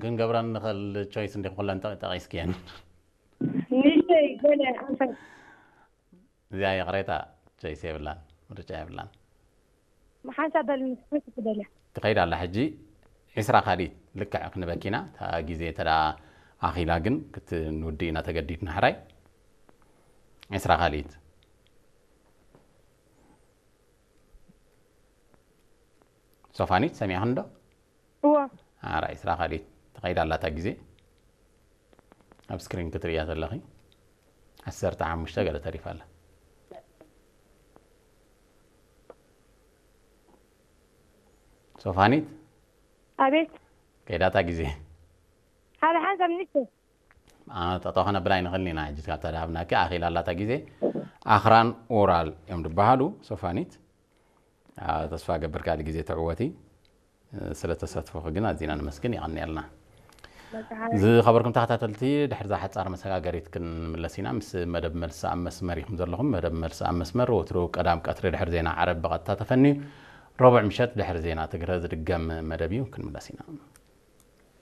ክንገብረን ንኽእል ቾይስ እንዲኹም ኩለን ጠ- ጠቒስክየን። ንእሽተይ ገለ ኣንፈት እዚኣ ይቕሬታ፣ ቾይስ የብላን፣ ምርጫ የብላን። ሓንሳብ በልኒ፣ ሓንሳብ ትደልያ። ትኸይድ ኣላ። ሕጂ ዒስራ ካልኢት ልክዕ ክንበኪና፣ እታ ግዜ ተዳ ኣኺላ ግን ክትንውዲ ኢና ተገዲድና። ሕራይ ዒስራ ካልኢት። ሶፋኒት ሰሚዕኽን ዶ? እዎ። ኣራ ዒስራ ካልኢት ትኸይድ ኣላ እታ ግዜ። ኣብ ስክሪን ክትርእያ ዘለኺ ዓሰርተ ሓሙሽተ ገለ ተሪፋ ኣላ። ሶፋኒት ኣቤት። ከይዳ እታ ግዜ። ሓደ ሓንሳብ ንእሽተይ። ጠጠው ከነብላ ኣይንኽእልን ኢና። ሕጂ ካብታ ድሃብናኪ ኣኺላ ኣላ እታ ግዜ። ኣኽራን ኡራል እዮም ዝበሃሉ። ሶፋኒት፣ ተስፋ ገብር ካልእ ግዜ ትዕወቲ። ስለ ተሳትፎኺ ግን ኣዚና ነመስግን። የቐንየልና። ዝኸበርኩም ተኸታተልቲ፣ ድሕሪ እዛ ሓጻር መሰጋገሪት ክንምለስ ኢና። ምስ መደብ መልሲ ኣብ መስመር ኢኹም ዘለኹም። መደብ መልሲ ኣብ መስመር ወትሩ ቀዳም ቀትሪ ድሕሪ ዜና ዓረብ ብቐጥታ ተፈንዩ፣ ረቡዕ ምሸት ድሕሪ ዜና ትግረ ዝድገም መደብ እዩ። ክንምለስ ኢና።